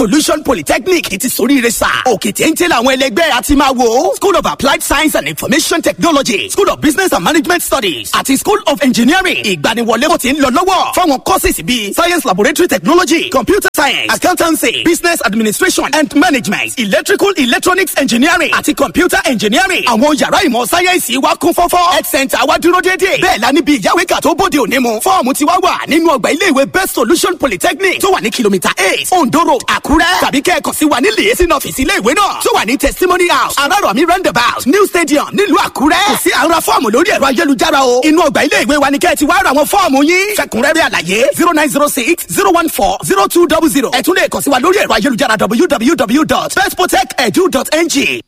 Solution Polytechnic ti soríire sà. Òkè téńté làwọn ẹlẹgbẹ́ àti máa wò. School of Applied Science and Information Technology, School of Business and Management Studies àti School of Engineering. Ìgbaniwọlé kò ti ń lọ lọ́wọ́ fáwọn courses bíi Science Laboratory Technology, Computer Science, Accountancy, Business Administration and Management, Electrical Electronics Engineering àti Computer Engineering. Àwọn yàrá ìmọ̀ sáyẹ́ǹsì wa kún fọ́fọ́. Health center wa dúró déédéé. Bẹ́ẹ̀ la níbi ìyáwéka tó bóde òní mu. Fọ́ọ̀mù ti wá wà nínú ọgbà ilé ìwé Best Solution Polytechnic tó wà ní kìlómítà 8 Ondo Road, Àkúrẹ́. Tàbí kẹ́ẹ̀kan sí wa ní liaison office ilé ìwé náà tó wà ní Testimony House, Arárọ̀mí Roundabout, New Stadium nílùú Àkúrẹ́. Kò sí àwọn ra fọ́ọ̀mù lórí ẹ̀rọ ayélujára o. Inú ọgbà ilé ìwé wa ni kẹ́ ẹ ti wá ra àwọn fọ́ọ̀mù yín. Fẹ̀kúnrẹ́rẹ́ àlàyé 0906 014 0200. Ẹ tún lè kàn sí wa lórí ẹ̀rọ ayélujára www.bestprotect.edu.ng.